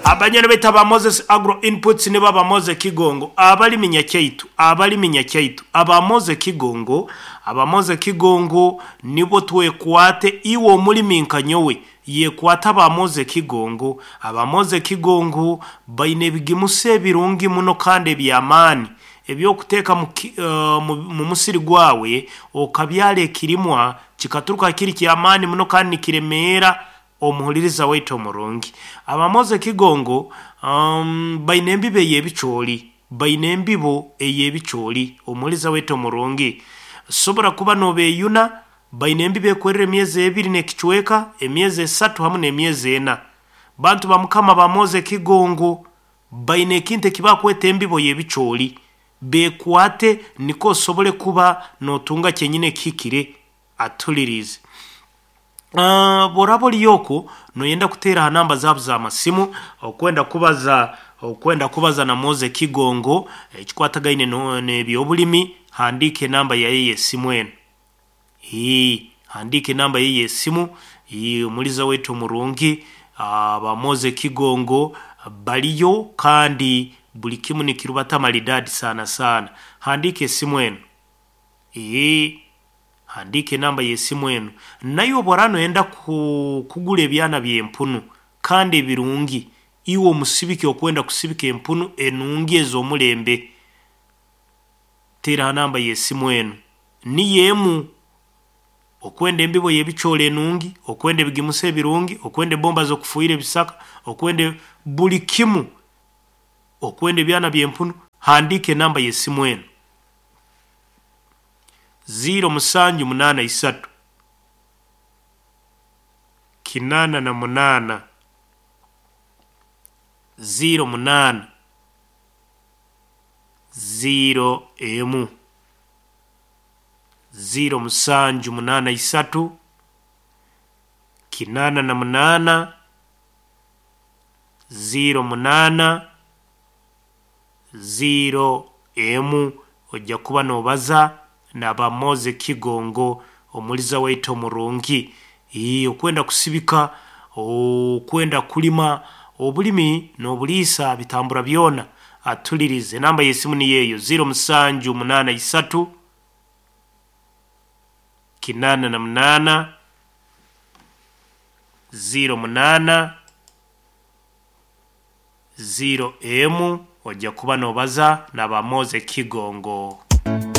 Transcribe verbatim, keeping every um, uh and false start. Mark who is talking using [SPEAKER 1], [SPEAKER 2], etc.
[SPEAKER 1] Abanyene beta ba Moses Agro Inputs nibo aba Moses Kigongo, abalimi Nyakyaitu, abalimi Nyakyaitu, aba Moses Kigongo, aba Moses Kigongo nibo twekwate. Iwe omulimi nka nyowe yekwata aba Moses Kigongo. Aba Moses Kigongo baine ebigimusa ebirungi muno kandi eby'amaani ebyokuteeka mu, uh, mu, mu musiri gwawe, okabyara ekirimwa kikaturuka kiri ky'amaani muno kandi nikiremeera omuhuliriza waitu omurungi. Aba Moses Kigongo um, baine embibo ey'ebicooli, baine embibo ey'ebicooli. Omuhuliriza waitu omurungi, sobola kuba nobeeyuna, baine embibo ekwerera emyezi ebiri n'ekicweka, emyezi esatu hamu n'emyezi ena. Bantu ba Mukama, ba Moses Kigongo baine ekintu ekibakweta embibo y'ebicooli. Bekwate niko osobole kuba notunga kyenyini ekihikire. Atulirize. Uh, bworaba oli okwo noyenda kuteera ha namba zaabo z'amasimu, okwenda kubaza okwenda kubaza na Moses Kigongo ekikwatagaine no- n'ebyobulimi, handiika enamba yaye y'esimu eno. Ii, handiika enamba ye y'esimu. Ii, omuliza waitu omurungi, aba Moses Kigongo baliyo kandi buli kimu nikirubata maridadi sana sana. Handiika esimu eno. Ii, handiika enamba y'esimu eno. Naye obworaba noyenda ku, kugura ebyana by'empunu kandi ebirungi, iwe omusibiki okwenda kusibika empunu enungi ez'omulembe, teera ha namba y'esimu eno niyo emu. Okwenda embibo y'ebicooli enungi, okwenda ebigimusa ebirungi, okwenda ebomba z'okufuuhira ebisaka, okwenda buli kimu, okwenda ebyana by'empunu, handiika enamba y'esimu eno: ziro musanju munaana isatu kinaana na munaana ziro munaana ziro emu, ziro musanju munaana isatu kinaana na munaana ziro munaana ziro emu. Ojja kuba nobaza naba Moses Kigongo, omuliza waitu omurungi. Ii, okwenda kusibika, okwenda kulima, obulimi n'obuliisa bitambura byona. Atulirize, enamba y'esimu niyo eyo: ziro musanju munaana isatu kinaana na munaana ziro munaana ziro emu. Ojja kuba nobaza naba Moses Kigongo.